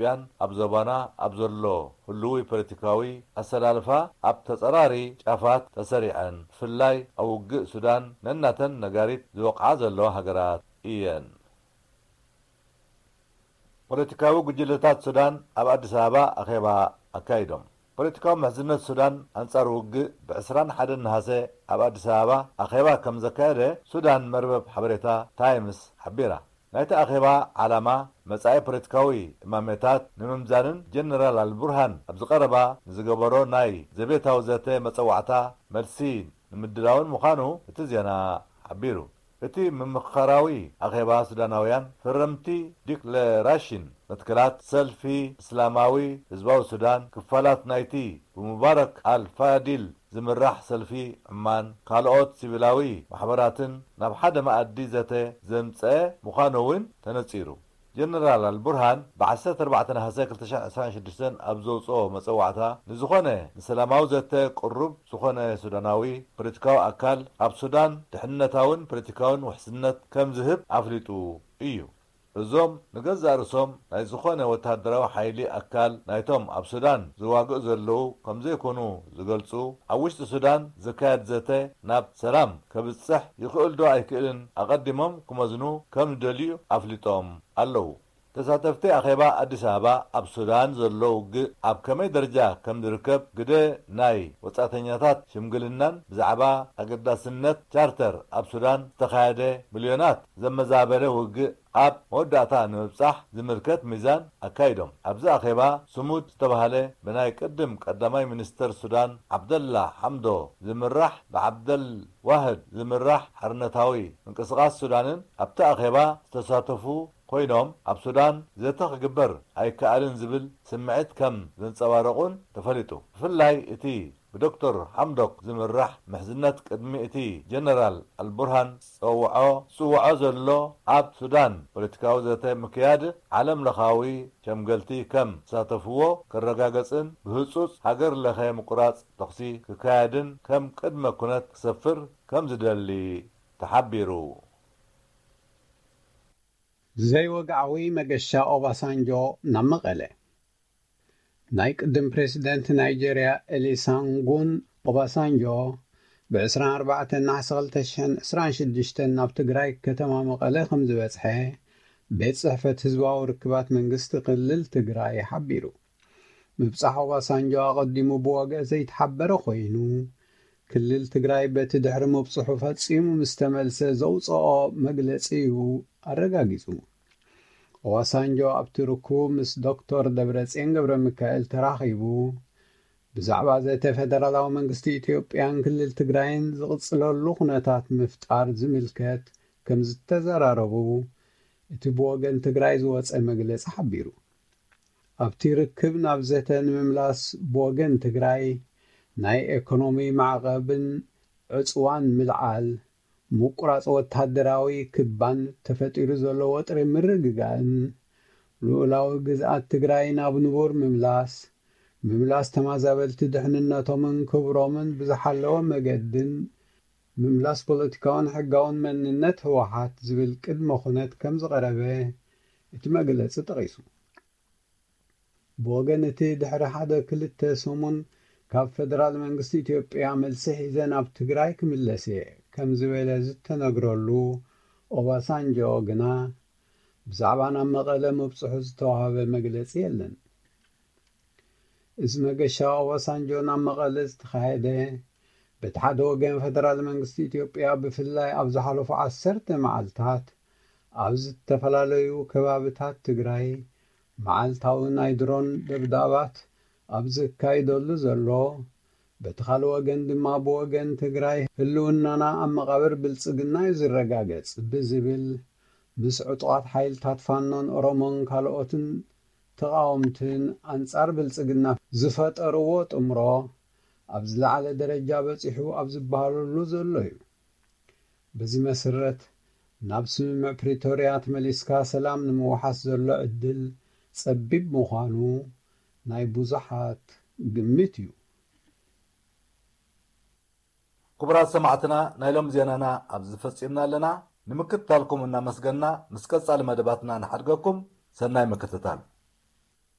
ኢትዮጵያን ኣብ ዞባና ኣብ ዘሎ ህልዊ ፖለቲካዊ ኣሰላልፋ ኣብ ተጸራሪ ጫፋት ተሰሪዐን፣ ብፍላይ ኣብ ውግእ ሱዳን ነናተን ነጋሪት ዝወቕዓ ዘለዋ ሃገራት እየን። ፖለቲካዊ ጉጅለታት ሱዳን ኣብ ኣዲስ ኣበባ ኣኼባ ኣካይዶም። ፖለቲካዊ ምሕዝነት ሱዳን ኣንጻር ውግእ ብ ዕስራን ሓደን ነሃሰ ኣብ ኣዲስ ኣበባ ኣኼባ ከም ዘካየደ ሱዳን መርበብ ሓበሬታ ታይምስ ሓቢራ። ናይቲ ኣኼባ ዓላማ መጻኢ ፖለቲካዊ እማሜታት ንምምዛንን ጀነራል ኣልቡርሃን ኣብ ዝቐረባ ንዝገበሮ ናይ ዘቤታዊ ዘተ መጸዋዕታ መልሲ ንምድላውን ምዃኑ እቲ ዜና ሓቢሩ። እቲ ምምኽኻራዊ ኣኼባ ሱዳናውያን ፈረምቲ ዲክለራሽን መትከላት ሰልፊ እስላማዊ ህዝባዊ ሱዳን፣ ክፋላት ናይቲ ብሙባረክ ኣልፋዲል ዝምራሕ ሰልፊ ዕማን ካልኦት ሲቪላዊ ማሕበራትን ናብ ሓደ መኣዲ ዘተ ዘምጸአ ምዃኑ እውን ተነጺሩ። ጀነራል ኣልቡርሃን ብ14 ነሃሰ ክልተ ሽሕን ዕስራን ሽዱሽተን ኣብ ዘውጽኦ መጸዋዕታ፣ ንዝኾነ ንሰላማዊ ዘተ ቅሩብ ዝኾነ ሱዳናዊ ፖለቲካዊ ኣካል ኣብ ሱዳን ድሕነታውን ፖለቲካውን ውሕስነት ከም ዝህብ ኣፍሊጡ እዩ። እዞም ንገዛእ ርእሶም ናይ ዝኾነ ወተሃደራዊ ሓይሊ ኣካል ናይቶም ኣብ ሱዳን ዝዋግኡ ዘለዉ ከም ዘይኮኑ ዝገልጹ፣ ኣብ ውሽጢ ሱዳን ዝካየድ ዘተ ናብ ሰላም ከብጽሕ ይኽእል ዶ ኣይክእልን ኣቐዲሞም ክመዝኑ ከም ዝደልዩ ኣፍሊጦም ኣለዉ። ተሳተፍቲ ኣኼባ ኣዲስ ኣበባ ኣብ ሱዳን ዘሎ ውግእ ኣብ ከመይ ደረጃ ከም ዝርከብ፣ ግደ ናይ ወጻእተኛታት ሽምግልናን ብዛዕባ ኣገዳስነት ቻርተር ኣብ ሱዳን ዝተኻየደ ሚልዮናት ዘመዛበለ ውግእ ኣብ መወዳእታ ንምብጻሕ ዝምልከት ሚዛን ኣካይዶም። ኣብዚ ኣኼባ ስሙድ ዝተባህለ ብናይ ቅድም ቀዳማይ ሚኒስተር ሱዳን ዓብደላ ሓምዶ ዝምራሕ ብዓብደል ዋህድ ዝምራሕ ሓርነታዊ ምንቅስቓስ ሱዳንን ኣብቲ ኣኼባ ዝተሳተፉ ኮይኖም፣ ኣብ ሱዳን ዘተ ክግበር ኣይከኣልን ዝብል ስምዒት ከም ዘንጸባረቑን ተፈሊጡ። ብፍላይ እቲ ብዶክተር ሓምዶክ ዝምራሕ ምሕዝነት ቅድሚ እቲ ጀነራል ኣልቡርሃን ዝጸውዖ ዝጽውዖ ዘሎ ኣብ ሱዳን ፖለቲካዊ ዘተ ምክያድ ዓለም ለኻዊ ሸምገልቲ ከም ዝሳተፍዎ ከረጋገጽን ብህጹጽ ሃገር ለኸ ምቁራጽ ተኹሲ ክካየድን ከም ቅድመ ኩነት ክሰፍር ከም ዝደሊ ተሓቢሩ። ዘይወግዓዊ መገሻ ኦባሳንጆ ናብ መቐለ። ናይ ቅድም ፕሬዝደንት ናይጀርያ ኤሊሳንጉን ኦባሳንጆ ብ24 ነሓሰ ክልተ ሽሕን ዕስራን ሽዱሽተን ናብ ትግራይ ከተማ መቐለ ከም ዝበጽሐ ቤት ጽሕፈት ህዝባዊ ርክባት መንግስቲ ክልል ትግራይ ሓቢሩ። ምብጻሕ ኦባሳንጆ ኣቐዲሙ ብወግዒ ዘይተሓበረ ኮይኑ፣ ክልል ትግራይ በቲ ድሕሪ ምብጽሑ ፈጺሙ ምስ ተመልሰ ዘውጽኦ መግለጺ እዩ ኣረጋጊጹ። ኦባሳንጆ ኣብቲ ርኩብ ምስ ዶክተር ደብረጽዮን ገብረ ሚካኤል ተራኺቡ፣ ብዛዕባ ዘተ ፌደራላዊ መንግስቲ ኢትዮጵያን ክልል ትግራይን ዝቕጽለሉ ኩነታት ምፍጣር ዝምልከት ከም ዝተዘራረቡ እቲ ብወገን ትግራይ ዝወጸ መግለጺ ሓቢሩ። ኣብቲ ርክብ ናብ ዘተ ንምምላስ ብወገን ትግራይ ናይ ኤኮኖሚ ማዕቐብን ዕጽዋን ምልዓል፣ ምቁራጽ ወታደራዊ ክባን ተፈጢሩ ዘሎ ወጥሪ ምርግጋእን፣ ልኡላዊ ግዝኣት ትግራይ ናብ ንቡር ምምላስ፣ ምምላስ ተማዛበልቲ ድሕንነቶምን ክብሮምን ብዝሓለወ መገድን፣ ምምላስ ፖለቲካውን ሕጋውን መንነት ህወሓት ዝብል ቅድመ ኩነት ከም ዝቐረበ እቲ መግለጺ ጠቒሱ። ብወገን እቲ ድሕሪ ሓደ ክልተ ሰሙን ካብ ፌደራል መንግስቲ ኢትዮጵያ መልሲ ሒዘ ናብ ትግራይ ክምለስ እየ ከም ዝበለ ዝተነግረሉ ኦባሳንጆ ግና ብዛዕባ ናብ መቐለ ምብጽሑ ዝተዋህበ መግለጺ የለን። እዚ መገሻ ኦባሳንጆ ናብ መቐለ ዝተኻየደ በቲ ሓደ ወገን ፌደራል መንግስቲ ኢትዮጵያ ብፍላይ ኣብ ዝሓለፉ ዓሰርተ መዓልታት ኣብ ዝተፈላለዩ ከባብታት ትግራይ መዓልታዊ ናይ ድሮን ደብዳባት ኣብ ዘካይደሉ ዘሎ፣ በቲ ካልእ ወገን ድማ ብወገን ትግራይ ህልውናና ኣብ መቓብር ብልጽግና እዩ ዝረጋገጽ ብዝብል ምስ ዕጡቓት ሓይልታት ፋኖን ኦሮሞን ካልኦትን ተቓወምትን ኣንጻር ብልጽግና ዝፈጠርዎ ጥምሮ ኣብ ዝለዓለ ደረጃ በጺሑ ኣብ ዝበሃለሉ ዘሎ እዩ። በዚ መሰረት ናብ ስምምዕ ፕሪቶርያ ተመሊስካ ሰላም ንምውሓስ ዘሎ ዕድል ጸቢብ ምዃኑ ናይ ብዙሓት ግምት እዩ። ክቡራት ሰማዕትና፣ ናይ ሎም ዜናና ኣብዚ ፈጺምና ኣለና። ንምክትታልኩም እናመስገና ምስ ቀጻሊ መደባትና ንሓድገኩም። ሰናይ ምክትታል።